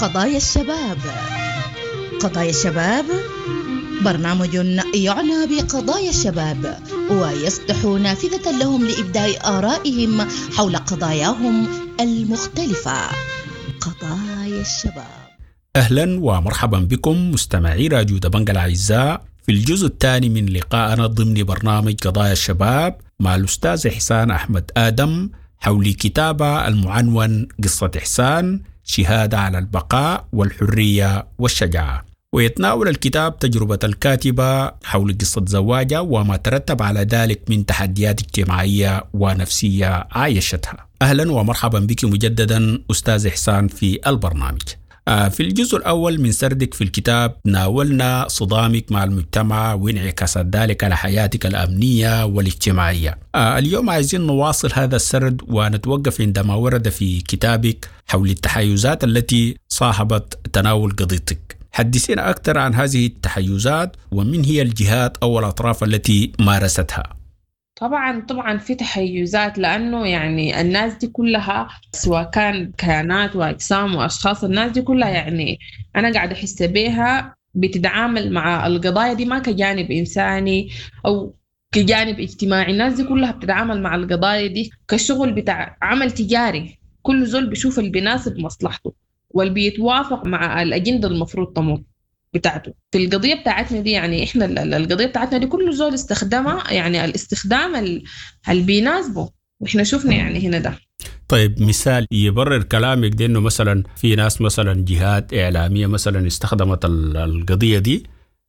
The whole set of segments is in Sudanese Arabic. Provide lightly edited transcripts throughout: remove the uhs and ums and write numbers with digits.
قضايا الشباب. قضايا الشباب برنامج يعنى بقضايا الشباب ويفتح نافذة لهم لإبداء آرائهم حول قضاياهم المختلفة. قضايا الشباب. أهلا ومرحبا بكم مستمعي راديو دبنج الأعزاء في الجزء الثاني من لقائنا ضمن برنامج قضايا الشباب مع الأستاذ إحسان أحمد آدم حول كتابة المعنون قصة إحسان، شهادة على البقاء والحرية والشجاعة. ويتناول الكتاب تجربة الكاتبة حول قصة زواجها وما ترتب على ذلك من تحديات اجتماعية ونفسية عايشتها. أهلا ومرحبا بك مجددا أستاذ إحسان في البرنامج. في الجزء الأول من سردك في الكتاب ناولنا صدامك مع المجتمع وانعكاسات ذلك على حياتك الأمنية والاجتماعية. اليوم عايزين نواصل هذا السرد ونتوقف عندما ورد في كتابك حول التحيزات التي صاحبت تناول قضيتك. حدثينا أكثر عن هذه التحيزات ومن هي الجهات أو الأطراف التي مارستها. طبعا في تحيزات، لأنه يعني الناس دي كلها سواء كان كيانات وأجسام وأشخاص، الناس دي كلها يعني أنا قاعدة أحس بيها بتتعامل مع القضايا دي ما كجانب إنساني أو كجانب اجتماعي. الناس دي كلها بتتعامل مع القضايا دي كشغل بتاع عمل تجاري، كل زول بيشوف اللي بيناسب مصلحته واللي بيتوافق مع الأجندة المفروض تمر بتاعته. في القضية بتاعتنا دي يعني إحنا القضية بتاعتنا دي كل زول استخدمها يعني الاستخدام اللي بيناسبه، وإحنا شفنا يعني هنا ده. طيب مثال يبرر كلامك ده، إنه مثلا في ناس مثلا جهات إعلامية مثلا استخدمت القضية دي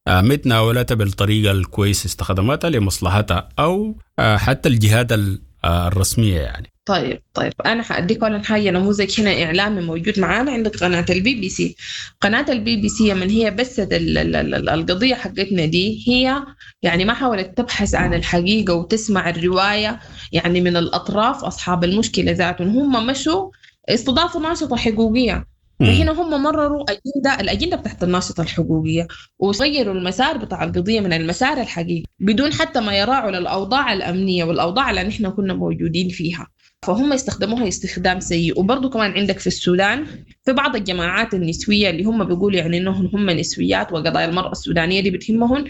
متناولتها بالطريقة الكويس، استخدمتها لمصلحتها أو حتى الجهات الرسمية يعني. طيب أنا حأديك أولا حاجة، نموذج هنا إعلامي موجود معانا، عندك قناة البي بي سي. قناة البي بي سي من هي بثت القضية حقتنا دي، هي يعني ما حاولت تبحث عن الحقيقة وتسمع الرواية يعني من الأطراف أصحاب المشكلة ذاتهم. هم مشوا استضافوا ناشطة حقوقية، فهنا هم مرروا الأجندة بتاعت الناشطة الحقوقية وغيروا المسار بتاع القضية من المسار الحقيقي بدون حتى ما يراعوا للأوضاع الأمنية والأوضاع اللي نحن كنا موجودين فيها. فهم استخدموها استخدام سيء. وبرضه كمان عندك في السودان في بعض الجماعات النسوية اللي هم بيقولوا يعني إنهم هم نسويات وقضايا المرأة السودانية دي بتهمهن،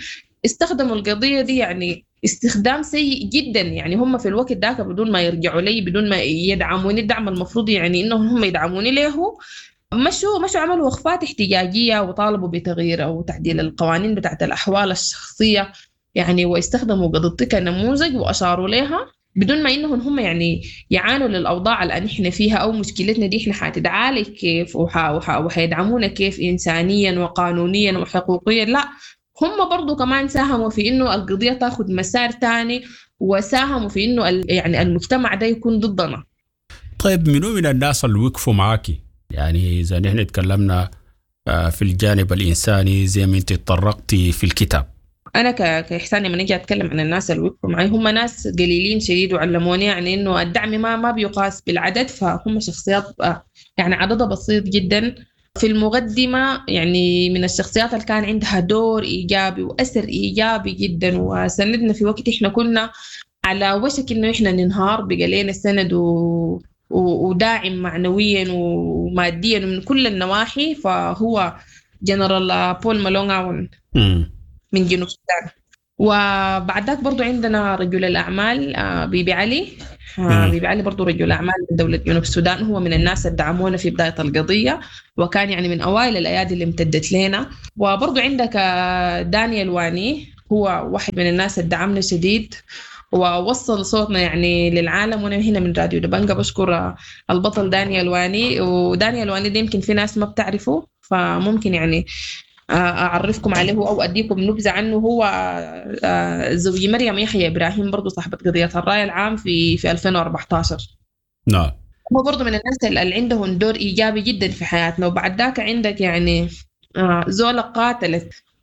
استخدموا القضية دي يعني استخدام سيء جدا. يعني هم في الوقت ذاك بدون ما يرجعوا لي، بدون ما يدعموني الدعم المفروض يعني إنهم هم يدعموني له، مشوا عملوا وقفات احتجاجية وطالبوا بتغيير أو تعديل القوانين بتاعت الأحوال الشخصية يعني، واستخدموا قضيتي كنموذج وأشاروا لها بدون ما إنهم هم يعني يعانوا للأوضاع اللي إحنا فيها أو مشكلتنا دي إحنا حتتعالج كيف وحيدعمونا كيف إنسانيا وقانونيا وحقوقيا. لا، هم برضو كمان ساهموا في إنه القضية تاخد مسار تاني، وساهموا في إنه يعني المجتمع ده يكون ضدنا. طيب منو من الناس اللي وقفوا معاكي؟ يعني إذا نحن تكلمنا في الجانب الإنساني زي ما أنت تطرقتي في الكتاب. أنا كإحسان لما نجي أتكلم عن الناس اللي وقفوا معي، هم ناس قليلين شديد وعلموني يعني إنه الدعم ما بيقاس بالعدد، فهم شخصيات يعني عددها بسيط جدا. في المقدمة يعني من الشخصيات اللي كان عندها دور إيجابي وأثر إيجابي جدا وسندنا في وقت إحنا كنا على وشك إنه إحنا ننهار، بقى لنا سند وداعم معنويا وماديا من كل النواحي، فهو جنرال بول مالونغاون من جنوب السودان. وبعد ذاك برضو عندنا رجل الأعمال بيبي علي. بيبي علي برضو رجل أعمال من دولة جنوب السودان، هو من الناس اللي دعمونا في بداية القضية وكان يعني من أوائل الأيادي اللي امتدت لنا. وبرضو عندك دانيال واني، هو واحد من الناس اللي دعمنا شديد ووصل صوتنا يعني للعالم. وانا هنا من راديو دبنجة بشكر البطل دانيال واني. ودانيال واني ده يمكن في ناس ما بتعرفه، فممكن يعني أعرفكم عليه أو أديكم نبذة عنه. هو زوج مريم يحيى إبراهيم، برضو صاحبة قضية الرأي العام في 2014. نعم، هو برضو من الناس اللي عندهم دور إيجابي جدا في حياتنا. وبعد ذاك عندك يعني زولا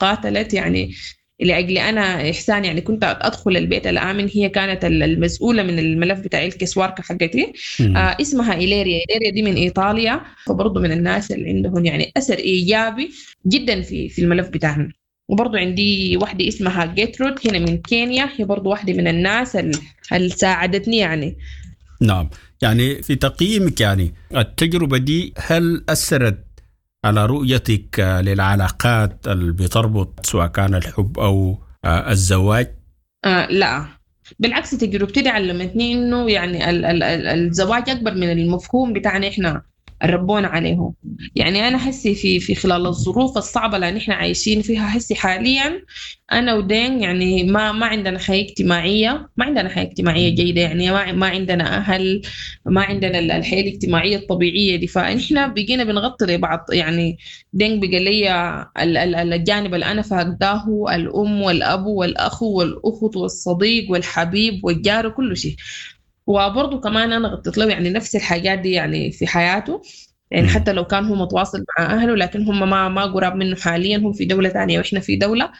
قاتلت يعني لأجل أنا إحسان، يعني كنت أدخل البيت الآمن، هي كانت المسؤولة من الملف بتاع الكسواركة حقتي. اسمها إيليريا. إيليريا دي من إيطاليا، فبرضو من الناس اللي عندهم يعني أثر إيجابي جدا في الملف بتاعنا. وبرضو عندي واحدة اسمها جيترود هنا من كينيا، هي برضو واحدة من الناس اللي ساعدتني يعني. نعم، يعني في تقييمك يعني التجربة دي هل أثرت على رؤيتك للعلاقات اللي بتربط سواء كان الحب أو الزواج؟ لا، بالعكس، تجربتي دي علمتني إنه يعني الزواج أكبر من المفهوم بتاعنا إحنا ربونا عليه. يعني أنا حسي في خلال الظروف الصعبة اللي نحن عايشين فيها حسي حاليا، أنا ودين يعني ما عندنا حياة اجتماعية، ما عندنا حياة اجتماعية جيدة، يعني ما عندنا أهل، ما عندنا الحياة الاجتماعية الطبيعية دي. فإحنا بقينا بنغطي لبعض. يعني دين بقى لي الجانب اللي أنا فاقداه، الأم والأب والأخ والأخت والصديق والحبيب والجار وكل شيء. وبرضه كمان أنا غطيت له يعني نفس الحاجات دي يعني في حياته، يعني حتى لو كان هو متواصل مع أهله لكن هم ما قراب منه حاليا، هم في دولة تانية وإحنا في دولة.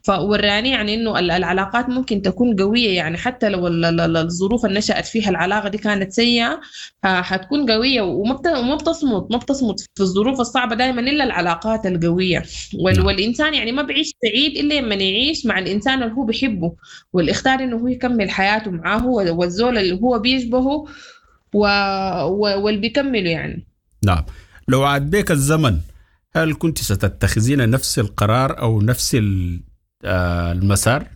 فوراني يعني إنه العلاقات ممكن تكون قوية، يعني حتى لو الظروف اللي نشأت فيها العلاقة دي كانت سيئة، حتكون قوية وما بتصمد، ما بتصمد في الظروف الصعبة دائما إلا العلاقات القوية. والإنسان يعني ما بعيش سعيد إلا لما يعيش مع الإنسان اللي هو بيحبه واللي اختار إنه هو يكمل حياته معاه، والزول اللي هو بيشبهه واللي بيكمله يعني. نعم. لو عاد بك الزمن، هل كنت ستتخذين نفس القرار أو نفس المسار؟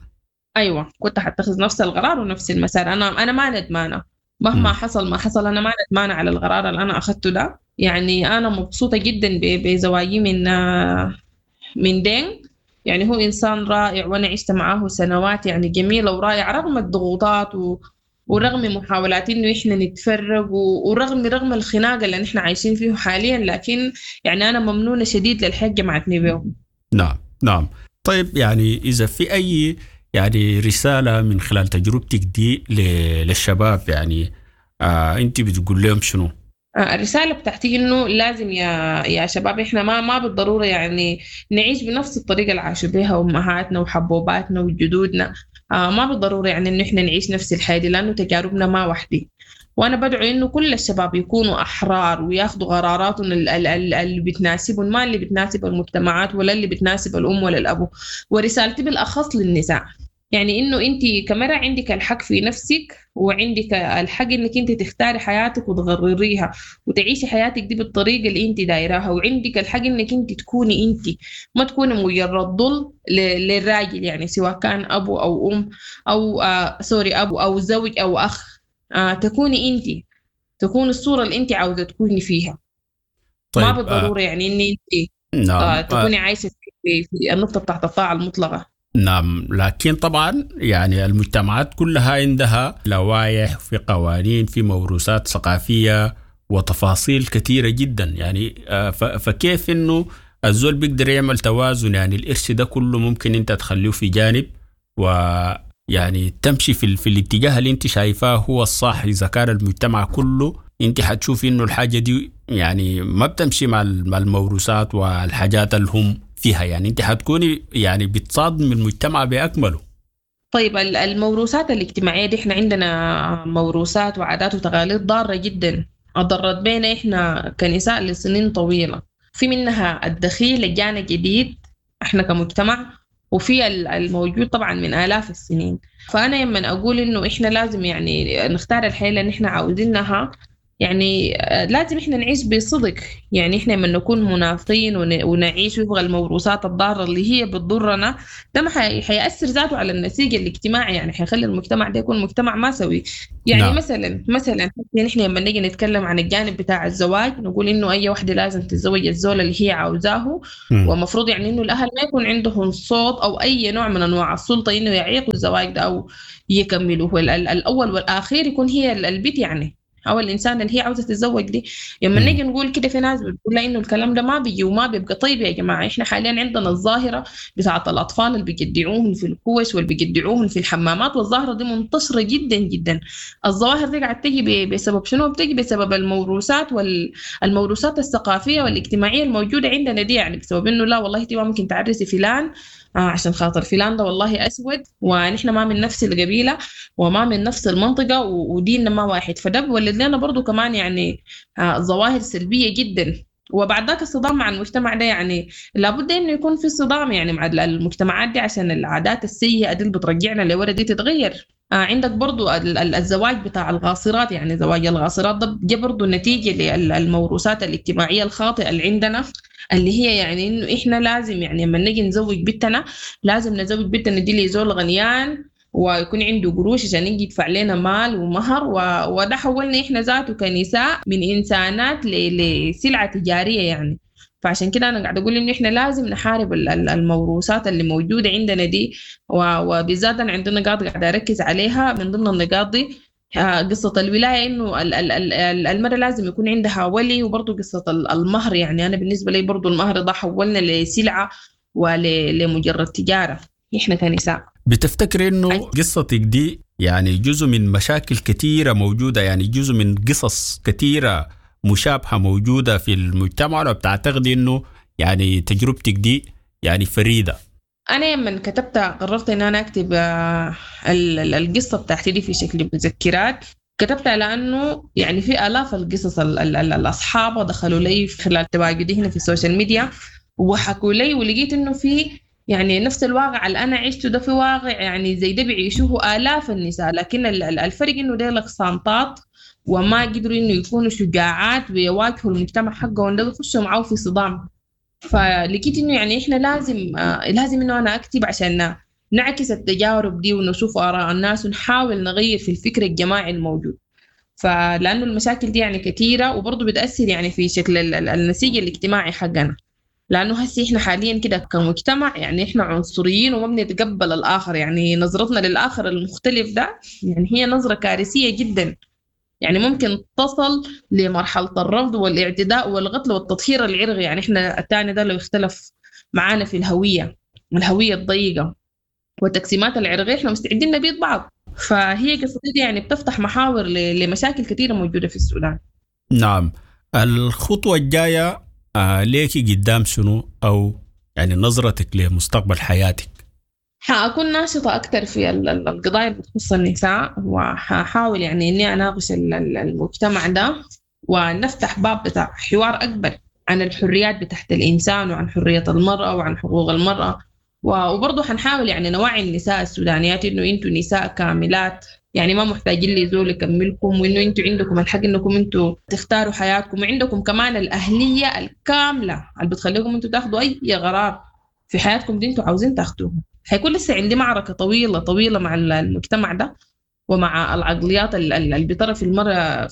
أيوة، كنت حتخذ نفس القرار ونفس المسار. أنا ما ندمانة مهما حصل ما حصل، أنا ما ندمانة على القرار اللي أنا أخذته ده. يعني أنا مبسوطة جدا بزواجي من دين، يعني هو إنسان رائع وأنا عشت معاه سنوات يعني جميلة ورائعة رغم الضغوطات ورغم محاولات إنه إحنا نتفرق ورغم الخناقة اللي نحن عايشين فيه حاليا، لكن يعني أنا ممنونة شديد للحياة جمعتني بيه. نعم نعم. طيب، يعني إذا في أي يعني رسالة من خلال تجربتك دي للشباب، يعني أنت بتقول لهم شنو؟ الرسالة بتاعتي إنه لازم يا شباب إحنا ما بالضرورة يعني نعيش بنفس الطريقة اللي عاشوا بها أمهاتنا وحبوباتنا وجدودنا. ما بالضرورة يعني إنه إحنا نعيش نفس الحياة دي، لأنه تجاربنا ما وحدي. وأنا بدعو إنه كل الشباب يكونوا أحرار وياخدوا قراراتهم اللي بتناسبهم، ما اللي بتناسب المجتمعات ولا اللي بتناسب الأم ولا الأبو. ورسالتي بالأخص للنساء، يعني إنه أنت كمرأة عندك الحق في نفسك، وعندك الحق إنك أنت تختاري حياتك وتغرريها وتعيشي حياتك دي بالطريقة اللي أنت دايراها، وعندك الحق إنك أنت تكوني أنت، ما تكوني مجرد ظل للراجل، يعني سواء كان أبو أو أم أو سوري أبو أو زوج أو أخ. تكوني أنت، تكون الصورة اللي أنت عاوزة تكوني فيها. طيب، ما بالضرورة يعني إن أنت نعم. تكوني عايشة في النقطة بتاعت الطاعة المطلقة. نعم، لكن طبعا يعني المجتمعات كلها عندها لوائح، في قوانين، في موروثات ثقافية وتفاصيل كثيرة جدا. يعني فكيف انه الزول بيقدر يعمل توازن؟ يعني الإرث ده كله ممكن انت تخليه في جانب ويعني تمشي في الاتجاه اللي انت شايفاه هو الصح. اذا كان المجتمع كله انت حتشوفي انه الحاجة دي يعني ما بتمشي مع الموروثات والحاجات اللي هم فيها، يعني انت حتكوني يعني بتصادم المجتمع باكمله. طيب، الموروثات الاجتماعيه دي احنا عندنا موروثات وعادات وتقاليد ضاره جدا، اضرت بينا احنا كنساء لسنين طويله. في منها الدخيل اللي جانا جديد احنا كمجتمع، وفي الموجود طبعا من آلاف السنين. فأنا لما أقول إنه إحنا لازم يعني نختار الحياة اللي إحنا عاوزينها، يعني لازم إحنا نعيش بصدق. يعني إحنا لما نكون منافقين ونعيش وفق الموروثات الضارة اللي هي بتضرنا، ده ما حيأثر ذاته على النسيج الاجتماعي، يعني حيخلي المجتمع ده يكون مجتمع ما سوي. يعني نعم. مثلا نحن لما نيجي نتكلم عن الجانب بتاع الزواج، نقول إنه أي واحدة لازم تتزوج الزول اللي هي عاوزاه، ومفروض يعني إنه الأهل ما يكون عندهم صوت أو أي نوع من أنواع السلطة إنه يعيقوا الزواج ده أو يكملوه. الأول والأخير يكون هي البيت، يعني أو الإنسان اللي هي عاوزة تتزوج دي. لما نيجي نقول كده في ناس بتقول لا إنه الكلام ده ما بيجي وما بيبقى. طيب يا جماعة، إحنا حاليا عندنا الظاهرة بتاعة الأطفال اللي بيجدعوهم في الكوش واللي بيجدعوهم في الحمامات، والظاهرة دي منتشرة جدا جدا. الظواهر دي قاعدة تيجي بسبب شنو؟ بتيجي بسبب الموروثات والموروثات الثقافية والاجتماعية الموجودة عندنا دي، يعني بسبب إنه لا والله أنت ما ممكن تعرسي فلان عشان خاطر فلان ده والله أسود، ونحن ما من نفس القبيلة وما من نفس المنطقة وديننا ما واحد. فده بيولد لنا برضو كمان يعني ظواهر سلبية جدا. وبعد ذاك الصدام مع المجتمع ده، يعني لابد إنه يكون في صدام يعني مع المجتمعات دي عشان العادات السيئة دي اللي بترجعنا لورا دي تتغير. عندك برضو الزواج بتاع الغاصرات، يعني زواج الغاصرات ده جه برضو نتيجة للموروثات الاجتماعية الخاطئة اللي عندنا. اللي هي يعني إنه إحنا لازم يعني لما نجي نزوج بنتنا لازم نزوج بنتنا دي لزول غنيان ويكون عنده قروش عشان يجي يدفع لنا مال ومهر، وده حولنا إحنا ذاته كنساء من إنسانات لسلعة تجارية يعني. فعشان كده أنا قاعدة أقول إنه إحنا لازم نحارب الموروثات اللي موجودة عندنا دي، وبالذات أنا عندنا نقاط قاعدة أركز عليها. من ضمن النقاط دي قصة الولاية، إنه المرأة لازم يكون عندها ولي، وبرضه قصة المهر. يعني أنا بالنسبة لي برضه المهر ده حولنا لسلعة ولمجرد تجارة إحنا كنساء. بتفتكر إنه قصتك دي يعني جزء من مشاكل كثيرة موجودة، يعني جزء من قصص كثيرة مشابهة موجودة في المجتمع، ولا بتعتقد إنه يعني تجربتك دي يعني فريدة؟ أنا لما كتبت قررت إن أنا أكتب القصة بتاعتي دي في شكل مذكرات. كتبتها لأنه يعني في آلاف القصص الأصحاب دخلوا لي خلال تواجدي هنا في ال social media وحكوا لي، ولقيت إنه في يعني نفس الواقع اللي أنا عشته ده في واقع يعني زي ده بيعيشوه آلاف النساء، لكن الفرق إنه ديلك صامتات وما قدروا إنه يكونوا شجاعات ويواجهوا المجتمع حقهم ده ويخشوا معاه في صدام. فلقيت إنه يعني إحنا لازم إنه أنا أكتب عشان نعكس التجارب دي ونشوف آراء الناس ونحاول نغير في الفكر الجماعي الموجود. فلأنه المشاكل دي يعني كثيرة وبرضه بتأثر يعني في شكل النسيج الاجتماعي حقنا، لأنه هسي إحنا حاليا كده كمجتمع يعني إحنا عنصريين وما بنتقبل الآخر، يعني نظرتنا للآخر المختلف ده يعني هي نظرة كارثية جدا، يعني ممكن تصل لمرحلة الرفض والاعتداء والقتل والتطهير العرقي. يعني إحنا الثاني ده لو اختلف معانا في الهوية الضيقة والتقسيمات العرقية إحنا مستعدين نبيد بعض. فهي قصتي دي يعني بتفتح محاور لمشاكل كثيرة موجودة في السودان. نعم، الخطوة الجاية ليكي قدام شنو، أو يعني نظرتك لمستقبل حياتك؟ حأكون ناشطة أكثر في القضايا اللي بتخص النساء، وحاحاول يعني إني أناقش المجتمع ده ونفتح باب بتاع حوار أكبر عن الحريات بتاعت الإنسان وعن حرية المرأة وعن حقوق المرأة. وبرضه حنحاول يعني نوعي النساء السودانيات إنه أنتوا نساء كاملات، يعني ما محتاجين لزول يكملكم، وإنه أنتوا عندكم الحق إنكم أنتوا تختاروا حياتكم، وعندكم كمان الأهلية الكاملة اللي بتخليكم أنتوا تاخدوا أي قرار في حياتكم دي أنتوا عاوزين تاخدوه. حيكون لسه عندي معركة طويلة طويلة مع المجتمع ده ومع العقليات اللي بترى في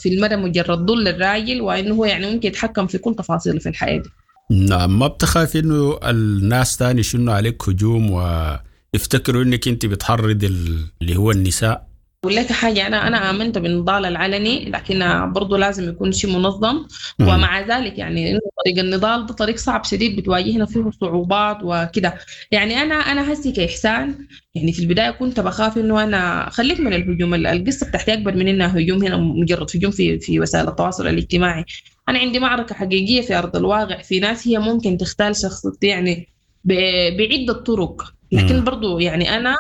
المرأة مجرد ظل الراجل، وإنه هو يعني ممكن يتحكم في كل تفاصيله في الحياة دي. نعم، ما بتخاف إنه الناس تاني شنو عليك هجوم ويفتكروا إنك أنت بتحرض اللي هو النساء؟ أقول لك حاجة، أنا آمنت بالنضال العلني، لكن برضو لازم يكون شيء منظم. ومع ذلك يعني إنه طريق النضال ده طريق صعب شديد، بتواجهنا فيه صعوبات وكده. يعني أنا هسي كإحسان يعني في البداية كنت بخاف إنه أنا خليك من الهجوم، القصة بتاعتي أكبر من إنها هجوم هنا، مجرد هجوم في وسائل التواصل الاجتماعي. أنا عندي معركة حقيقية في أرض الواقع، في ناس هي ممكن تختال شخصيتي يعني بعدة طرق، لكن برضو يعني أنا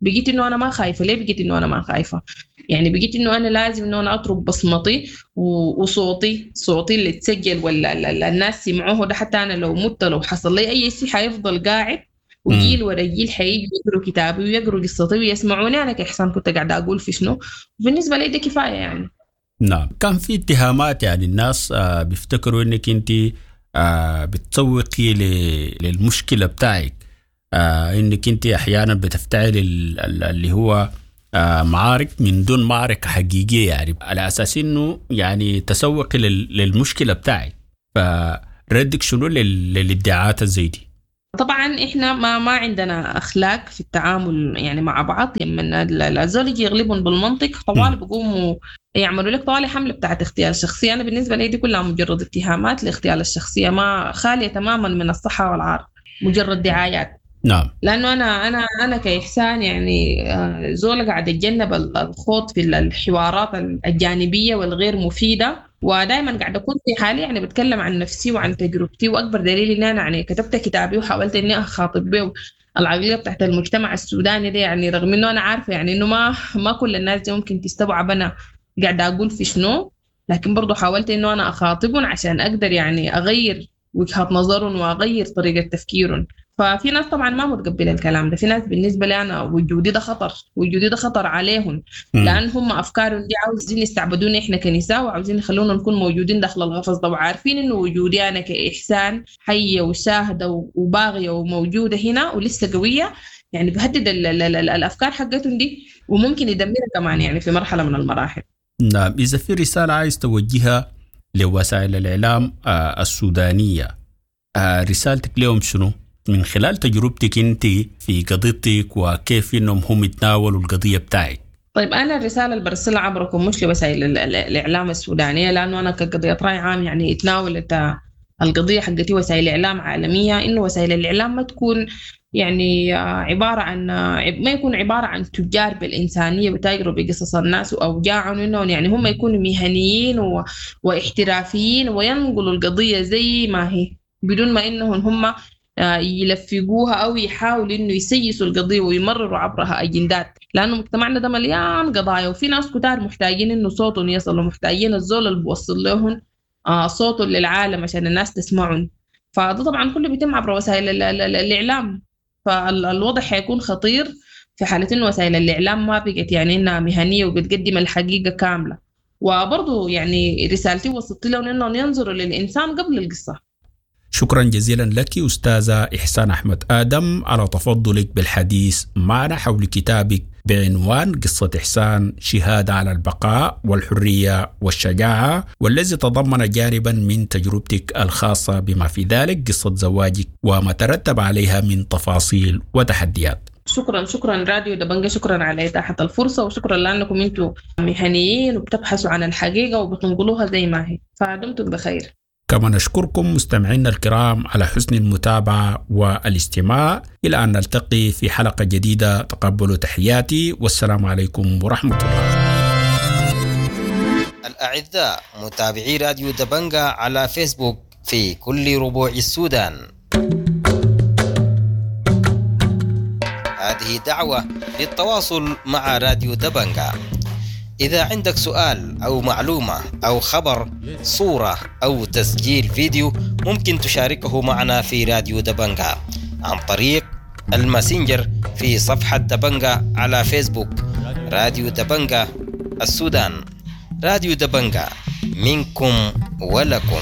بقيت إنه أنا ما خايفة. ليه بقيت إنه أنا ما خايفة؟ يعني بقيت إنه أنا لازم إنه أنا أترك بصمتي وصوتي، صوتي اللي تسجل ولا الناس سمعوه ده، حتى أنا لو مت لو حصل لي أي شيء حيفضل قاعد، وجيل ورا جيل حيجي يقروا كتابي ويقروا قصتي ويسمعوني أنا كإحسان كنت قاعدة أقول في شنو. بالنسبة لي ده كفاية يعني. نعم، كان في اتهامات يعني الناس بيفتكروا إنك أنت بتسوقي للمشكلة بتاعك، انك انت احيانا بتفتعل اللي هو معارك من دون معركه حقيقيه، يعني على اساس انه يعني تسوقي للمشكله بتاعك. فردك شنو للادعاءات زي دي؟ طبعا احنا ما عندنا اخلاق في التعامل يعني مع بعض. لما الزول يجي يغلبهم بالمنطق طوال بيقوموا يعملوا لك طوال حمله بتاعت اغتيال شخصيه. انا بالنسبه لي دي كلها مجرد اتهامات لاغتيال الشخصيه، ما خاليه تماما من الصحه والعار، مجرد دعايات. نعم، لأنه أنا كإحسان يعني زول قاعد أتجنب الخوض في الحوارات الجانبية والغير مفيدة، ودائما قاعد أكون في حالي يعني بتكلم عن نفسي وعن تجربتي. وأكبر دليل إن أنا يعني كتبت كتابي وحاولت إني أخاطب به العقلية بتاعت المجتمع السوداني ده، يعني رغم إنه أنا عارفة يعني إنه ما كل الناس دي ممكن تستوعب أنا قاعدة أقول في شنو، لكن برضو حاولت إنه أنا أخاطبهم عشان أقدر يعني أغير وجهة نظرهم وأغير طريقة تفكيرهم. ففي ناس طبعا ما متقبله الكلام ده، في ناس بالنسبة لي انا وجودي ده خطر، وجودي ده خطر عليهم، لان هم افكارهم دي عاوزين يستعبدونا احنا كنساء، وعاوزين يخلونا نكون موجودين داخل القفص ده، وعارفين انه وجودي انا كاحسان حيه وشاهده وباغيه وموجودة هنا ولسه قوية، يعني بهدد ال ال ال الافكار حقتهم دي، وممكن يدمرها كمان يعني في مرحلة من المراحل. نعم، اذا في رسالة عايز توجهها لوسائل الاعلام السودانية، رسالتك لهم شنو؟ من خلال تجربتك انت في قضيتك وكيف انهم هم يتناولوا القضية بتاعك. طيب انا الرسالة اللي برسلها عبركم مش لوسائل الاعلام السودانية، لانه انا كقضية راي عام يعني اتناولت القضية حقتي وسائل اعلام عالمية، انه وسائل الاعلام ما تكون يعني عبارة عن، ما يكون عبارة عن تجار بالإنسانية بتاجروا بقصص الناس وأوجاعهم، إنهم يعني هم يكونوا مهنيين واحترافيين وينقلوا القضية زي ما هي بدون ما إنهم هم يلفقوها أو يحاولوا إنه يسيسوا القضية ويمرروا عبرها أجندات، لأنه مجتمعنا ده مليان قضايا وفي ناس كتار محتاجين إنه صوتهم يصل، ومحتاجين الزول اللي بوصل لهم صوتهم للعالم عشان الناس تسمعهم. فده طبعا كله بيتم عبر وسائل الإعلام، فالوضع حيكون خطير في حالة إنه وسائل الإعلام ما بقت يعني إنها مهنية وبتقدم الحقيقة كاملة. وبرضه يعني رسالتي وصلت لهم إنهم ينظروا للإنسان قبل القصة. شكرا جزيلا لك أستاذة إحسان أحمد آدم على تفضلك بالحديث معنا حول كتابك بعنوان قصة إحسان، شهادة على البقاء والحرية والشجاعة، والذي تضمن جانبا من تجربتك الخاصة بما في ذلك قصة زواجك وما ترتب عليها من تفاصيل وتحديات. شكرا، شكرا راديو دبنجة، شكرا على إتاحة الفرصة، وشكرا لأنكم أنتم مهنيين وبتبحثوا عن الحقيقة وبتنقلوها زي ما هي، فدمتم بخير. كما نشكركم مستمعينا الكرام على حسن المتابعة والاستماع، إلى أن نلتقي في حلقة جديدة. تقبلوا تحياتي والسلام عليكم ورحمة الله. الأعزاء متابعي راديو دبنجة على فيسبوك في كل ربوع السودان، هذه دعوة للتواصل مع راديو دبنجة. إذا عندك سؤال أو معلومة أو خبر، صورة أو تسجيل فيديو، ممكن تشاركه معنا في راديو دبنجة عن طريق الماسنجر في صفحة دبنجة على فيسبوك، راديو دبنجة السودان. راديو دبنجة منكم ولكم.